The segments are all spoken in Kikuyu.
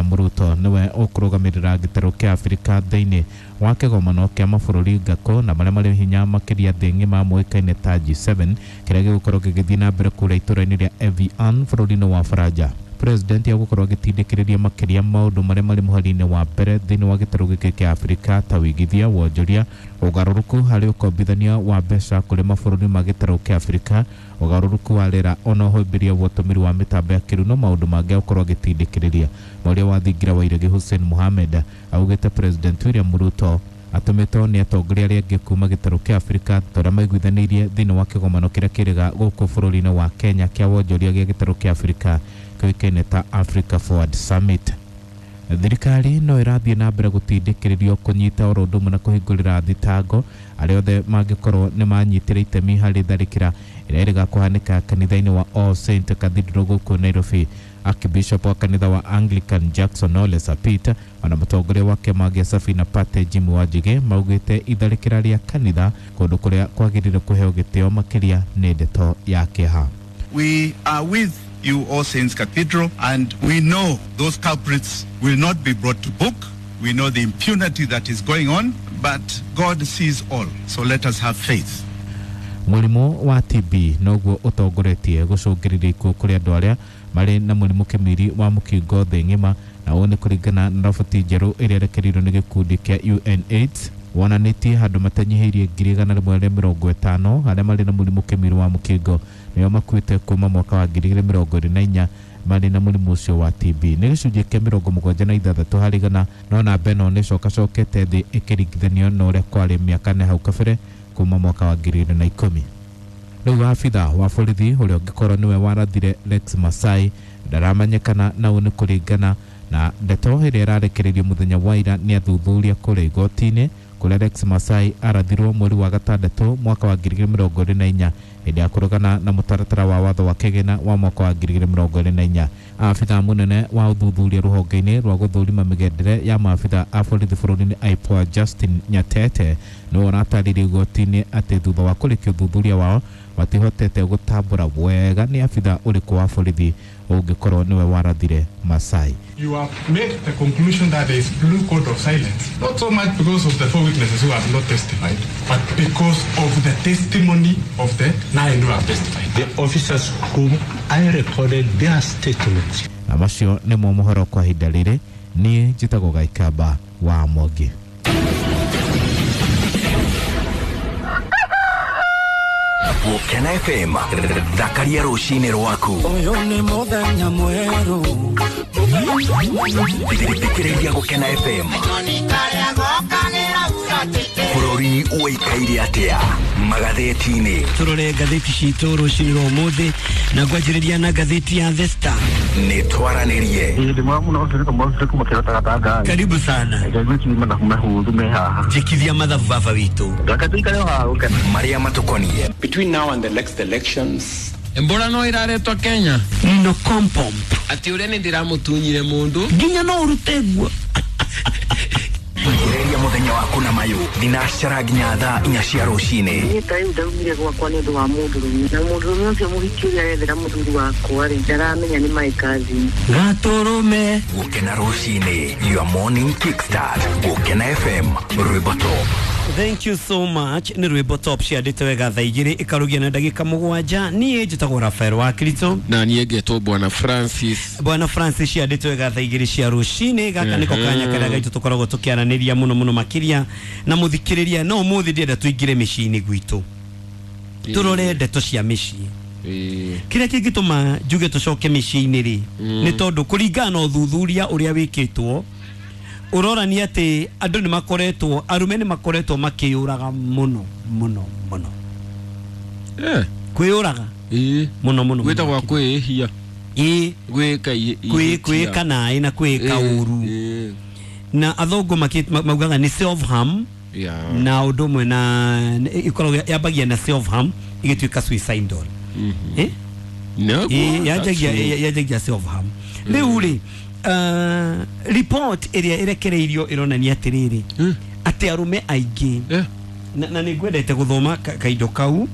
William Ruto niwe ũkũrũgamĩrĩra gĩtarũ kĩa Afrika thĩinĩ wa kĩgomano kĩa mabũrũri ngako na marĩa marĩ hinya makĩria thĩ ng'ima moĩkaine ta G7 kĩrĩa gĩgũkorwo gĩgĩthiĩ na mbere kũrĩa itũũra-inĩ rĩa Evian bũrũri-inĩ wa Faranja. President agũkorwo agĩtindĩkĩrĩria makĩria maũndũ marĩa marĩ mũhari-inĩ wa mbere thĩinĩ wa gĩtarũ gĩkĩ kĩa Afrika ta wĩigithia, wonjoria, ũgarũrũku harĩ ũkombithania wa mbeca kũrĩ mabũrũri ma gĩtarũ kĩa Afrika, ũgarũrũku wa rĩera ona ũhĩmbĩria wa ũtũmĩri wa mĩtambo ya kĩrĩu na maũndũ mangĩ agũkorwo agĩtindĩkĩrĩria. Mwaria wa thingira wa iregi Hussein Mohamed augĩte President William Ruto atũmĩtwo nĩ atongoria arĩa angĩ kuma gĩtarũ kĩa Afrika ta ũrĩa maiguithanĩirie thĩinĩ wa kĩgomano kĩrĩa kĩrĩga gũkũ bũrũri-inĩ wa Kenya kĩa wonjoria gĩa gĩtarũ kĩa Afrika kĩũĩkaine ta Africa Forward Summit. Thirikari no ĩrathiĩ na mbere gũtindĩkĩrĩrio kũnyita oro ũndũ ũmwe na kũhingũrĩra thitango arĩa othe mangĩkorwo nĩ manyitire itemi harĩ tharĩkĩra ĩrĩa ĩrĩga kũhanĩka kanitha-inĩ wa All Saint Cathedral gũkũ Nairobi. Archbishop wa kanitha wa Anglican Jackson Ole Sapit ona mũtongoria wa kĩama gĩa Safina Party Jimmy Wanjigi maugĩte itharĩkĩra rĩa kanitha kũndũ kũrĩa kwagĩrĩire kũheo gĩtĩo makĩria nĩ ndeto ya kĩeha. We are with you, All Saints Cathedral, and we know those culprits will not be brought to book. We know the impunity that is going on, but God sees all. So let us have faith. Mũrimũ wa TB noguo ũtongoretie gũcũngĩrĩria ikuũ kũrĩ andũ arĩa marĩ na mũrimũ kĩmiri wa mũkingo thĩ ng'ima, na ũũ nĩ kũringana na roboti njerũ ĩrĩa ĩrekereirio nĩ gĩkundi kĩa UNAIDS wonanĩtie handũ matanyihĩirie 150,000 arĩa marĩ na mũrimũ kĩmiri wa mũkingo nĩo makuĩte kuma mwaka wa 2024 marĩ na mũrimũ ũcio wa TB. Nĩ gĩcunjĩ kĩa 76 harĩ igana, no namba ĩno nĩ ĩcokacokete thĩ ĩkĩringithanio na ũrĩa kwarĩ mĩaka ĩna hau kabere kuma mwaka wa 2010. Rĩu abitha wa borithi ũrĩa ũngĩkorwo nĩwe warathire Lex Masai ndaramenyekana, na ũũ nĩ kũringana na ndeto ĩrĩa ĩrarekereirio mũthenya wa ira nĩ athuthuria kũrĩa igoti-inĩ kũrĩa Lex Masai arathirwo mweri wa gatandatũ mwaka wa 2024 hĩndĩ ya kũrũgana na mũtaratara wa watho wa kĩgĩna wa mwaka wa 2024. Abitha mũnene wa ũthuthuria rũhonge-inĩ rwa gũthũrima mĩgendere ya maabitha a borithi bũrũri-inĩ IPOA Justin Nyatete nĩwe ũratarĩirie igoti-inĩ atĩ thutha wa kũrĩkia ũthuthuria wao matihotete gũtambũra wega nĩ abitha ũrĩkũ wa borithi ũngĩkorwo nĩwe warathire Masai. You have made the conclusion that there is blue code of silence, not so much because of the 4 witnesses who have not testified, but because of the testimony of the 9 who have testified. The officers whom I recorded their statements. Na macio nĩmo mohoro kwa ihinda rĩrĩ. Niĩ njĩtagwo Gaikamba wa Mwangi. Gũkena FM, thakaria rũcinĩ rwaku. Ũyũ nĩ mũthenya mwerũ. Thikĩrĩria Gũkena FM. Bũrũri ũikaire atĩa magathĩti-inĩ? Tũrore ngathĩti citũ rũcinĩ rwa ũmũthĩ na ngwanjĩrĩria na ngathĩti ya The Star. Nĩ twaranĩrie. Karibu sana. Jikithia mathabu baba witũ. Marĩa matũkoniĩ. Between now and the next elections, Embora no iraretwo Kenya. No kompomp. Ati ũrĩa nĩ ndĩramũtunyire mũndũ. Nginya no ũrute nguo. Ambĩrĩria mũthenya waku na mayũ thinacara nginya thaa 4 cia rũcinĩ. Niĩ ta rĩu ndaumire gwakwa nĩ ũndũ wa mũndũrũme, na mũndũrũme ũcio mũhiki ũrĩa arethera mũthuri wakwa rĩ, ndaramenya nĩ my cousin. Gatũrũme. Gũkena rũcinĩ, your morning kickstart. Gũkena FM, rwĩmbo top. Thank you so much. Nĩ rwĩmbo top ciandĩte wega thaa 2 ĩkarugia na ndagĩka 7. Niĩ njĩtagwo Rafael wa Kristo. Na niĩ ngetwo Bwana Francis. Bwana Francis ciandĩte wega thaa 2 cia rũcinĩ. Gaka nĩko kanya karĩa gaitũ tũkoragwo tũkĩaranĩria mũno mũno makĩria na mũthikĩrĩria. No ũmũthĩ ndĩrenda tũingĩre mĩciĩ-inĩ gwitũ, tũrore ndeto cia mĩciĩ. Kĩrĩa kĩngĩtũma njuge tũcoke mĩciĩ-inĩ rĩ, nĩ tondũ kũringana na ũthuthuria ũrĩa wĩkĩtwo ũrorania atĩ andũ nĩ makoretwo, arũme nĩ makoretwo makĩyũraga mũno mũno mũno. Kwĩyũraga mũno mũno. Gwĩtagwo kwĩhia. Kwĩka naĩ na kwĩka ũru. Na athũngũ maugaga nĩ self harm. Na ũndũ ũmwe na ĩkoragwo yambagia na self harm ĩgĩtuĩka suicidal. Yanjagia self harm. Rĩu rĩ, report ĩrĩa ĩrekereirio ĩronania atĩrĩrĩ, atĩ arũme aingĩ Na nĩ ngwendete gũthoma kaindo kau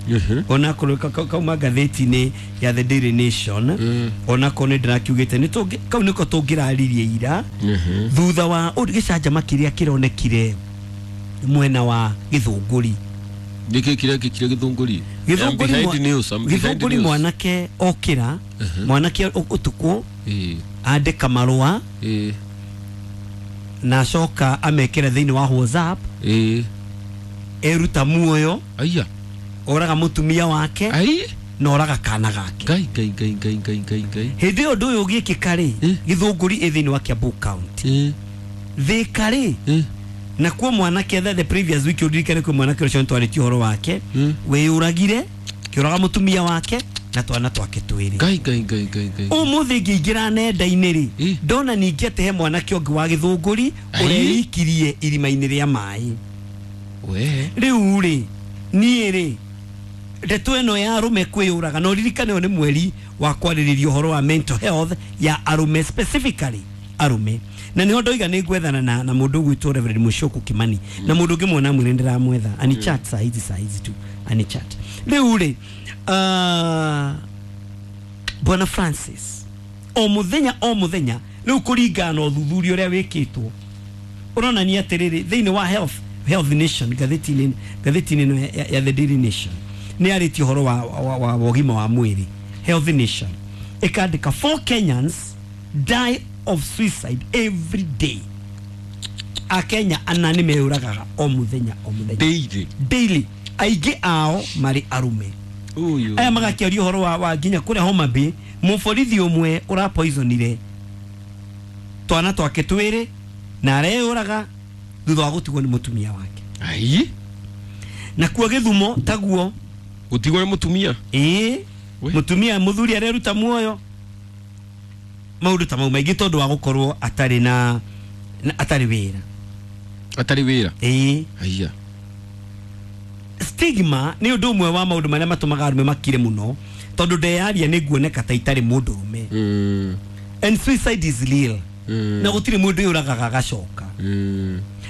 onakorwo kauma ngathĩti-inĩ ya The Daily Nation, onakorwo nĩ ndĩrakiugĩte nĩ kau nĩko tũngĩraririe ira thutha wa gĩcanjama kĩrĩa kĩronekire mwena wa Gĩthũngũri. Nĩkĩ kĩrekĩkire Gĩthũngũri? Gĩthũngũri mwanake okĩra, mwanake ũtukũ andĩka marũa na acoka amekĩra thĩinĩ wa WhatsApp, eruta muoyo, aya oraga mũtumia wake na oraga kana gake. Ngai ngai ngai ngai ngai ngai ngai. Hĩndĩ ĩyo ũndũ ũyũ ũgĩkĩka rĩ, Gĩthũngũri ĩ thĩinĩ wa Kiambu County, Thĩka rĩ, na kuo mwanake the previous week ũririkane kwĩ mwanake ũcio nĩtwarĩtie ũhoro wake wĩyũragire kĩũraga mũtumia wake na twana twake twĩrĩ. Ngai ngai ngai ngai ngai. Ũmũthĩ ngĩingĩra nenda-inĩ rĩ, ndona ningĩ atĩ he mwanake ũngĩ wa Gĩthũngũri ũreikirie irima-inĩ rĩa maĩ. Rĩu rĩ, niĩ rĩ, ndeto ĩno ya arũme kwĩyũraga, na ũririkane ũyũ nĩ mweri wa kwarĩrĩria ũhoro wa mental health ya arũme, specifically arũme, na nĩho ndoiga nĩ ngwethana na mũndũ ũgwĩtwo Reverend Mushoku Kimani, na mũndũ ũngĩ mwona mwĩrĩ ndĩramwetha ani chat saa hizi tu ani chat. Rĩu rĩ, Bwana Francis, o mũthenya rĩu kũringana na ũthuthuria ũrĩa wĩkĩtwo ũronania atĩrĩrĩ, thĩinĩ wa Health Nation, ngathĩti-inĩ ya The Daily Nation nĩ yarĩtie ũhoro wa ũgima wa mwĩrĩ. Health Nation ĩkandĩka 4 Kenyans die of suicide every day. Akenya ana nĩ meyũragaga o mũthenya o mũthenya, daily, aingĩ ao marĩ arũme. Aya magakĩaria ũhoro wa nginya kũrĩa Homa Bay, mũborithi ũmwe ũrapoisonire twana twake twĩrĩ na areyũraga thutha wa gũtigwo nĩ mũtumia wake. Ai, na kuo Gĩthumo taguo gũtigwo nĩ mũtumia. Ĩĩ, mũtumia mũthuri areruta muoyo, maũndũ ta mau maingĩ tondũ wa gũkorwo atarĩ na atarĩ wĩra. Atarĩ wĩra. Ĩĩ. Aya. Stigma nĩ ũndũ ũmwe wa maũndũ marĩa matũmaga arũme makire mũno, tondũ ndeyaria nĩ nguoneka ta itarĩ mũndũrũme. And suicide is real. Na gũtirĩ mũndũ yũragaga agacoka.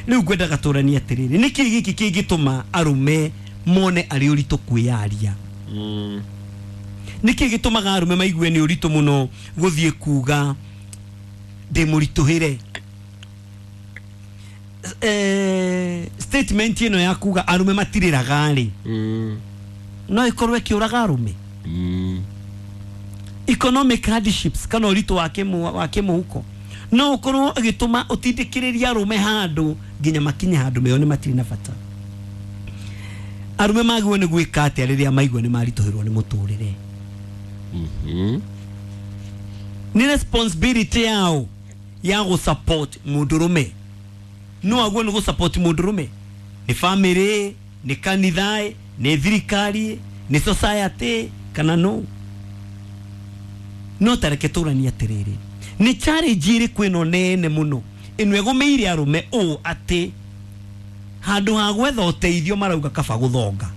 Rĩu ngwendaga tũranie atĩrĩrĩ, nĩkĩ gĩkĩ kĩngĩtũma arũme mone arĩ ũritũ kwĩyaria? Nĩkĩ gĩtũmaga arũme maigue nĩ ũritũ mũno gũthiĩ kuga ndĩ mũritũhĩre? Statement ĩno ya kuga arũme matirĩraga rĩ, no ĩkorwo ĩkĩũraga arũme. Economic hardships kana ũritũ wa kĩmũhuko no ũkorwo ĩgĩtũma ũtindĩkĩrĩrie arũme handũ nginya makinye handũ meyone matirĩ na bata. Arũme magĩrĩirwo nĩ gwĩka atĩa rĩrĩa maigua nĩ maritũhĩrwo nĩ mũtũrĩre? Nĩ responsibility yao ya gũ-support mũndũrũme. No aguo nĩ gũ-support mũndũrũme, nĩ family, nĩ kanitha, nĩ thirikari, nĩ society, kana no? No tareke tũranie atĩrĩrĩ, nĩ challenge ĩrĩkũ ĩno nene mũno ĩno ĩgũmĩire arũme ũũ atĩ handũ ha gwetha ũteithio marauga kaba gũthonga?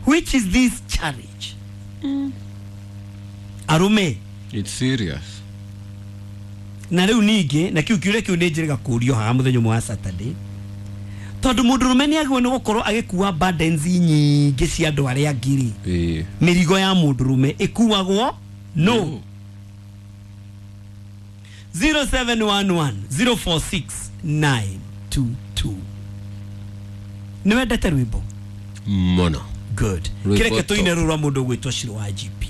Which is this challenge? Arũme, it's serious. Na rĩu ningĩ na kĩu kĩũria kĩu nĩ njĩrĩga kũũrio haha mũthenya ũmwe wa Saturday, tondũ mũndũrũme nĩ agĩrĩirwo nĩ gũkorwo agĩkua burdens nyingĩ cia andũ arĩa angĩ rĩ, mĩrigo ya mũndũrũme ĩkuagwo no. 0711 046 922. Nĩ wendete rwĩmbo mũno? Good. Kĩreke tũine rũrũ rwa mũndũ ũgwĩtwo Shiro wa GP.